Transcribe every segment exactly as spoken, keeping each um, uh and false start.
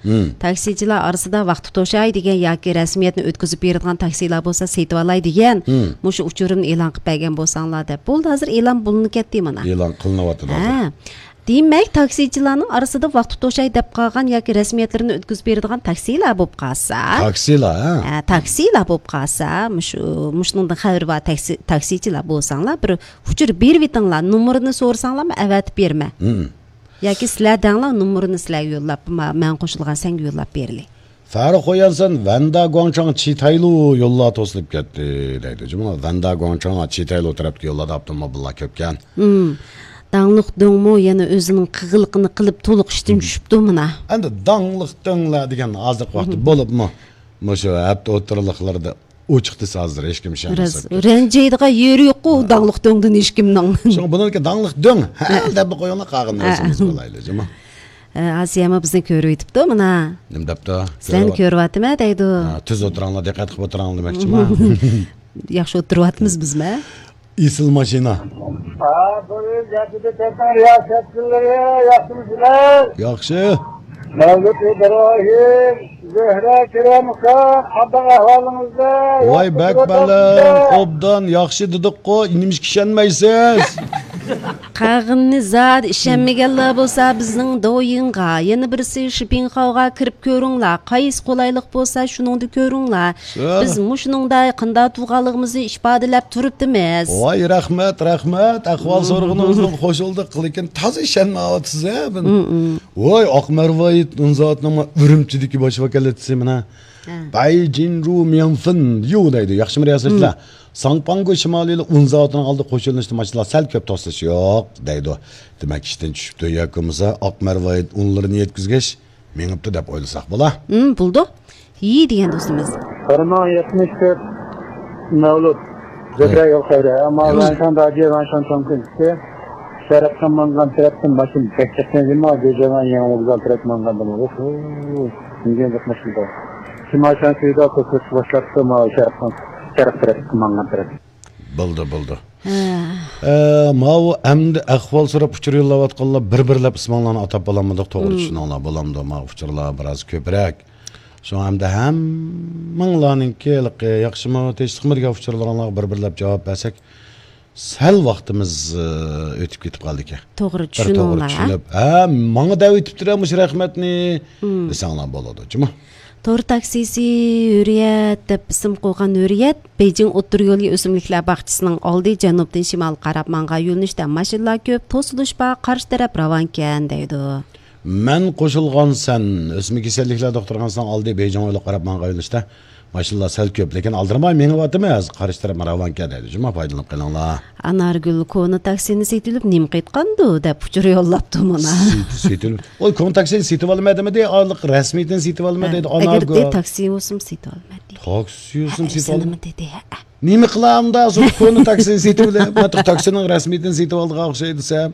مم. تاكسىچىلار ئارىسىدا ۋاقتى توشاي دېگەن ياكى رەسمىيەتنى ئۆتكۈزۈپ بېرىدىغان تاكسىلار بولسا سېتىۋالاي دېگەن، مم، مۇشۇ ئۇچۇرۇمنى ئېلان قىلىپ بەرگەن بولساڭلار دەپ. بولدى، ھازىر ئېلان بولۇنۇپ كەتتى مانا. ئېلان قىلىنىۋاتىدۇ ھازىر. ھە. دېمەك، تاكسىچىلارنىڭ ئارىسىدا ۋاقتى توشاي دەپ قالغان ياكى رەسمىيەتلىرىنى ئۆتكۈزۈپ بېرىدىغان تاكسىلار بولۇپ قالسا. تاكسىلار، ھە؟ ھە، تاكسىلار بولۇپ قالسا، مۇشۇ، مۇشۇنىڭدىن خەۋىرى بار تاكسى، تاكسىچىلار بولساڭلار، بىر ئۇچۇر بېرىۋېتىڭلار، نومۇرىنى سورىساڭلارمۇ ئەۋەتىپ بېرىمەن. مم. ياكى سىلەر دەڭلار، نومۇرىنى سىلەرگە يوللاپ، ما-، مەن قوشۇلغان سەنگە يوللاپ بېرىلى. فەرخ خويەنسەن ۋەندا گۇاڭچاڭ چىتايلۇ يوللار توسۇلۇپ كەتتى دەيدۇ. جۇمۇ ۋەندا گۇاڭچاڭ چىتايلۇ تەرەپتىكى يوللاردا ئاپتوموبىللار كۆپكەن. مم. داڭلىق دۆڭمۇ يەنە ئۆزىنىڭ قىلغىنىنى قىلىپ تولۇق ئىشتىن چۈشۈپتۇ مانا. ئەمدى داڭلىق دۆڭلەر دېگەن ھازىرقى ۋاقىتتا بولۇپمۇ مۇشۇ ھەپتە ئوتتۇرىلىقلىرىدا ئوچۇق دېسە ھازىر ھېچكىم ئىشەنمەس. رەنجىيدىغان يېرى يوققۇ داڭلىق دۆڭدىن ھېچكىمنىڭ. شۇڭا بۇنىڭكى داڭلىق دۆڭ ھە دەپلا قويۇڭلار، قالغىنىنى ئۆزىمىز بىلايلى جۇمۇ. ئاسىيەمۇ بىزنى كۆرۈۋېتىپتۇ مانا. نېمە دەپتۇ؟ سىلەرنى كۆرۈۋاتىمەن دەيدۇ. ھە، تۈز ئولتۇراڭلار، دىققەت قىلىپ ئولتۇراڭلار دېمەكچىما. ياخشى ئولتۇرۇۋاتىمىز بىزمۇ. ئېسىل ماشىنا. ھە، بۇيرۇڭ، جەدىدە تەتەر رىياسەتچىلىرى، ياخشىمۇسىلەر؟ ياخشى. مەۋلۇت ئىبراھىم، زۆھرە كېرەم ئۇكا، قانداق ئەھۋالىڭىزلار؟ ۋاي، بەك بەلەن، ئوبدان، ياخشى دېدۇققۇ، نېمىشقا ئىشەنمەيسىز؟ قالغىنىنى زادى ئىشەنمىگەنلەر بولسا بىزنىڭ دويىڭغا، يەنە بىرسى شىپىڭخاۋغا كىرىپ كۆرۈڭلار، قايسى قولايلىق بولسا شۇنىڭدا كۆرۈڭلار. بىز مۇشۇنىڭدا قانداق تۇرغانلىقىمىزنى ئىپادىلەپ تۇرۇپتىمىز. ۋاي، رەھمەت، رەھمەت. ئەھۋال سورىغىنىڭىزغا خوش بولدۇق، لېكىن تازا ئىشەنمەيۋاتىسىز ھە بۇنى. ۋاي، ئاق مەرۋايىت ئۇنزاتنىڭ ئۈرۈمچىدىكى باش ۋاكالەتچىسى مانا. بەيجىنرۇ مياڭفېن يۇ دەيدۇ. ياخشىمۇ رىياسەتچىلەر؟ ساڭپاڭگو شىمالىي ئۇن زاۋۇتىنىڭ ئالدىغا قوشۇلۇشتا ماشىنىلار سەل كۆپ توسۇلۇش يوق دەيدۇ. دېمەك، ئىشتىن چۈشۈپتۇ ياكى بولمىسا ئاق مەرۋايىت ئۇنلىرىنى يەتكۈزگەچ مېڭىپتۇ دەپ ئويلىساق بولا. ھىم، بولىدۇ. يى دېگەن دوستىمىز. بىر مىڭ يەتمىش تۆت مەۋلۇت. زۆھرە يول خەيرى. ئەمما ۋەنشان داجى، ۋەنشان چوڭكۈن ئىككى. شەرققە ماڭغان تەرەپتىن ماشىنا بەك چىققان، جۇما گۆجەۋەن يېڭى ۋوگزال تەرەپكە ماڭغاندىمۇ. ئوھو، نېمە قىلمىشىدۇ؟ شىمال شانسىدا كۆپرەك باشلاپتۇ، ما شەرقنىڭ، شەرق تەرەپكە ماڭغان تەرەپ. بولدى، بولدى. ھە. ئە، ماۋۇ ئەمدى ئەھۋال سوراپ ئۇچۇر يوللاۋاتقانلار بىر-بىرلەپ ئىسمىڭلارنى ئاتاپ بولالمىدۇق، توغرا چۈشىنىڭلار، بولامدۇ؟ ما ئۇچۇرلار بىراز كۆپرەك. شۇڭا ئەمدى ھەممىڭلارنىڭكى ھېلىقى ياخشىمۇ، تىنچلىقمۇ دېگەن ئۇچۇرلىرىڭلارغا بىر-بىرلەپ جاۋاب بەرسەك، سەل ۋاقتىمىز، ئى، ئۆتۈپ كېتىپ قالدىكەن. توغرا بىر توغرا چۈشىنىڭلار، ھە؟ چۈشىنىپ، ھە، ماڭا دەۋېتىپتۇ مۇشۇ رەھمەتنى دېسەڭلار بولىدۇ، جۇمۇ. تور تاكسىسى ھۆرىيەت دەپ ئىسىم قويغان ھۆرىيەت، بېيجىڭ ئوتتۇرا يولى ئۆسۈملۈكلەر باغچىسىنىڭ ئالدى جەنۇبتىن شىمالغا قاراپ ماڭغان يۆنىلىشتە ماشىنىلار كۆپ، توسۇلۇش بار، قارشى تەرەپ راۋانكەن دەيدۇ. مەن قوشۇلغان سەن، ئۆسمە كېسەللىكلەر دوختۇرخانىسىنىڭ ئالدى بېيجىڭ يولىغا قاراپ ماڭغان يۆنىلىشتە ماشىنىلار سەل كۆپ، لېكىن ئالدىرىماي مېڭىۋاتىمەن، ھازىر قارشى تەرەپ راۋانكەن دەيدۇ، جۇمۇ، پايدىلىنىپ قېلىڭلار. ئانارگۈل كونا تاكسىنى سېتىۋېلىپ نېمە قىلىدىغاندۇ دەپ ئۇچۇر يوللاپتۇ مانا. سېتىۋېلىپ، ئۇ كونا تاكسىنى سېتىۋالىمەن دېمىدى، ئارىلىق رەسمىيىتىنى سېتىۋالىمەن دەيدۇ، ئەگەر ئانارگۈل. تاكسى بولسىمۇ سېتىۋالىمەن دېدى. تاكسى بولسىمۇ سېتىۋالىمەن دېدى، ھە. نېمە قىلامدا، شۇ كونا تاكسىنى سېتىۋېلىپ، مانا تاكسىنىڭ رەسمىيىتىنى سېتىۋالىدىغان ئوخشايدۇ دېسەم.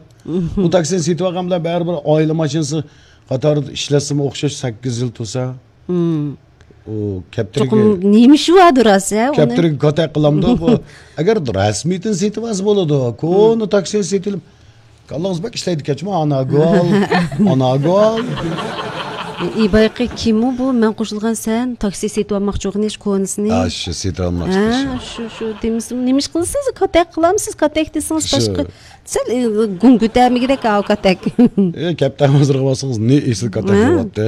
ئۇ تاكسىنى سېتىۋالغان بىلەن بەرىبىر ئائىلە ماشىنىسى قاتارىدا ئىشلەتسىمۇ ئوخشاش سەككىز يىل تۇرسا. ئۇ كەپتىرىگە، چوقۇم نېمە ئىشى باردۇ راست، ھە، ئۇنى؟ كەپتىرىگە كاتەك قىلامدۇ بۇ. ئەگەر رەسمىيىتىنى سېتىۋالسا بولىدۇ. كونا تاكسىنى سېتىۋېلىپ، كاللىڭىز بەك ئىشلەيدىكەنچۇ، ئاناگۈل، ئاناگۈل. ئى، بايىقى كىمۇ بۇ؟ مەن قوشۇلغان سەن، تاكسى سېتىۋالماقچى بولغان ئىش كونىسىنى. ھە، شۇ سېتىۋالماقچى ھە، شۇ، شۇ دېمىسىمۇ، نېمە ئىش قىلىسىز؟ كاتەك قىلامسىز؟ كاتەك دېسىڭىز باشقا. سەل، ئى، گۇڭ كۆتەرمىگۈدەك ئاۋۇ كاتەك. ئى، كەپتەر ھازىرغا بارسىڭىز، نى ئېسىل كاتەك بولاتتى.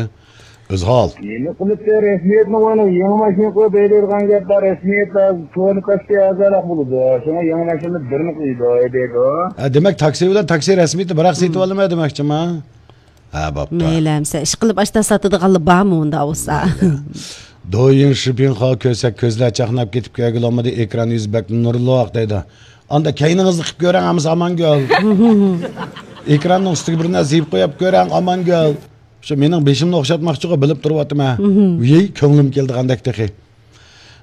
ئۆزھال. نېمە قىلىپتۇ؟ رەسمىيەتنى ئويناپ، يېڭى ماشىنا قويۇپ ھەيدەيدىغان گەپ بار. رەسمىيەت لازىم. كونا تاكسى ئەزاراق بولىدۇ. شۇڭا يېڭى ماشىنىنى بىرنى قويىدۇ، ھەيدەيدۇ. ھە، دېمەك، تاكسى بىلەن تاكسى رەسمىيىتى بىراق سېتىۋالىمەن دېمەكچىما؟ ھە، بوپتۇ. مەيلى ئەمسە، ئىشقىلىپ ئاشتا ساتىدىغانلا بارمۇ ئۇندا بولسا؟ دويىڭ شىپىڭخا كۆرسەك، كۆزلەر چاقناپ كېتىپ كەلگىلى بولمىدى، ئېكران يۈزى بەك نۇرلۇق دەيدۇ. ئاندا كەينىڭىزنى قىپ كۆرەڭ، ھەممىسى ئامانگۈل. ئېكراننىڭ ئۈستىگە بىر نەرسە يېپىپ قويۇپ كۆرەڭ، ئامانگۈل. شۇ مېنىڭ بېشىمنى ئوخشاتماقچىغۇ، بىلىپ تۇرۇۋاتىمەن. ۋىي، كۆڭلۈم كېلىدىغاندەك تېخى.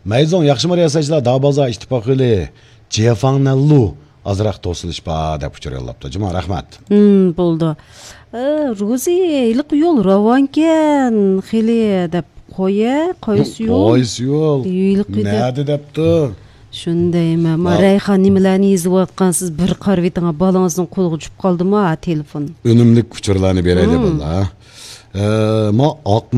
مەيزۇڭ، ياخشىمۇ رىياسەتچىلەر؟ داۋ بازار ئىتتىپاق يولى جيەفاڭنەنلۇ ئازراق توسۇلۇش بار دەپ ئۇچۇر يوللاپتۇ. جۇما، رەھمەت. ھىم، بولدى. ئە، روزى، ھېلىقى يول راۋانكەن خېلى دەپ قويە، قايسى يول؟ قايسى يول؟ ھېلىقى دەپ. نەدە دەپتۇ؟ شۇندايمۇ؟ ما، رەيھان، نېمىلەرنى يېزىۋاتقانسىز؟ بىر قارىۋېتىڭ، بالىڭىزنىڭ قولىغا چۈشۈپ قالدىمۇ ھا تېلېفون؟ ئۈنۈملۈك ئۇچۇرلارنى بېرەيلى، ھىم. باللا. ئە، ما ئاق